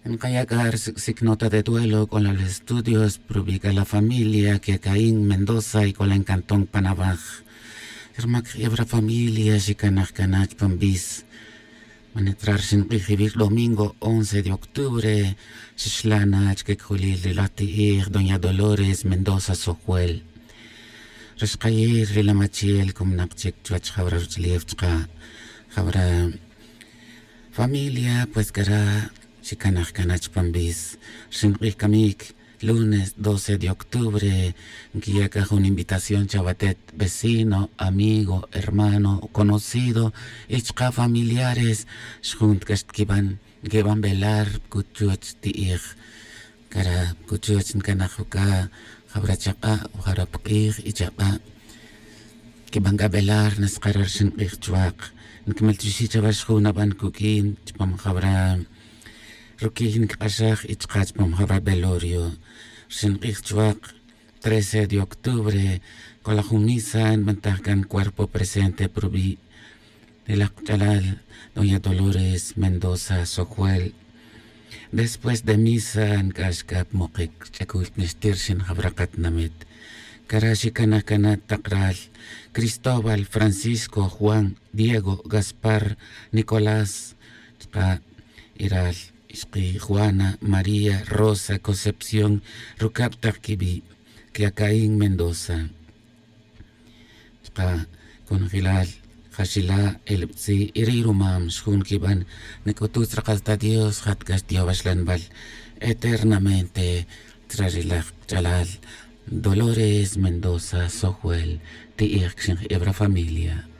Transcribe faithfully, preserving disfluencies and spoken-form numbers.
Nkaya' c'a ri sic' nota de duelo c'o la estudios prubi' c'a la familia que caín mendoza y c'o la encantón panabaj. Rmac jebra familia xicanaj cana chupan bis. Manetrar xink'ij iwi' domingo once de octubre. Xixla' na chique cujulil ri laj ti'ij doña dolores mendoza sojuel. Ri xkayir ri lamachiel cominak chic chuwech jawra ruch'ulef chka' jawra familia pues cara' xicanaj cana chupan bis. Xink'ij camic lunes doce de octubre. Nquiya' c'a jun invitación chawatet vecino amigo hermano conocido y chka' familiares. Xjun ta c'a xtiquiban nquiban velar cuchuch ti'ij. Cara' cuchuch ncanaj uca' jawra chak'a' jawra pk'ij y chak'a'. Quiban c'a velar naskara' ri xink'ij chuak. Nquimel chuxi' chawa xjun naban cuq'uin chupam jawra ruquiy nquik'axaj y chka' chupam jawra velorio. Ri xink'ij chuak trece de octubre. C'o la jun misa nbantaj can cuerpo presente prubi' ri laj kach'alal doña dolores mendoza sojuel. Después de misa nc'ax c'a pa mokic ch'acul nixtir xin jawra katinamit. Cara' xicanaj cana tak ral cristóbal francisco juan diego gaspar nicolás chka' y ral ixki juana maría rosa concepción rucab tak quibi' que acaín mendoza. Chka' conjelal jaxila' elbtzi' y ri rumam xjun quiban. Nic'ututz rakal ta dios jat c'a xtiyowaxlanbal eternamente chra ri laj kach'alal dolores mendoza sojuel. Ti'ij cxin jebra familia.